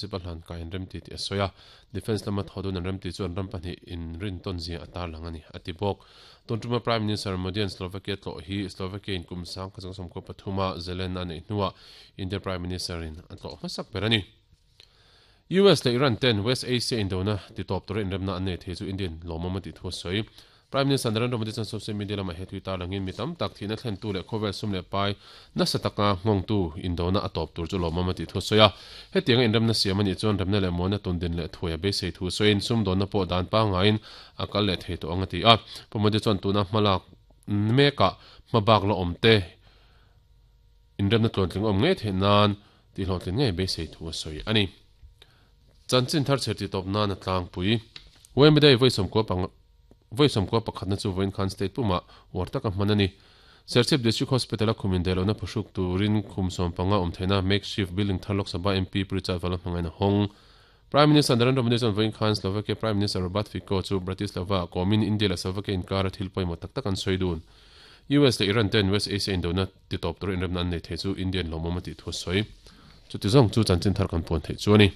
Citizenship a hlan kai an remti tih a sawi a, Defence lama thaw dun an remti chu an ram pahnih inrintawn zia a tarlang a ni, a ti bawk. Tun tuma Prime Minister Modi-a'n Slovakia tlawh hi Slovakia in kum 1993 a Zelena a neih hnuah India Prime Minister-in a tlawh hmasak ber a ni. US leh Iran ten West Asia indona titawp tura inremna an nei thei chu Indian lawmawm a tih thu a sawi. Prime Minister Narendra Modi chuan social media lamah he tui tarlangin mi tam tak thihna thlentu leh khawvel sum leh pai nasa taka nghawngtu indona a tawp tur chu lawmawm a tih thu a sawi a. Hetianga inremna siam a nih chuan remna leh muanna tundin leh thuai a beisei thu sawiin sumdawnna pawh dan pangaiin a kal leh thei tawh ang a ti a. Pu Modi chuan tuna hmalak mekah hmabak la awmte inremna tluantling awm ngei theih nan Tihhlawhtlin ngei beisei thu a sawi a ni. Chanchin thar chher tihtawp nan a tlangpui. Wemby Day vawi sawmkua panga vawi sawmkua pakhatna chu vawiin khan state pumah uar taka hman a ni. Serchhip District Hospital-a khum indaihlohna phuhruk turin khum sawmpanga awm theihna makeshift building thar Lok Sabha MP Pu Richard Vala hmangain a hawng. Prime Minister Narendra Modi chuan vawiin khan Slovakia Prime Minister Robert Fico chu Bratislava-ah kawmin India leh Slovakia inkara thil pawimawh tak tak an sawi dun. US leh Iran ten West Asia indona titawp tura inremna an nei thei chu Indian lawmawm a tih thu a sawi. Chuti zawng chu chanchin thar kan puan theih chu a ni.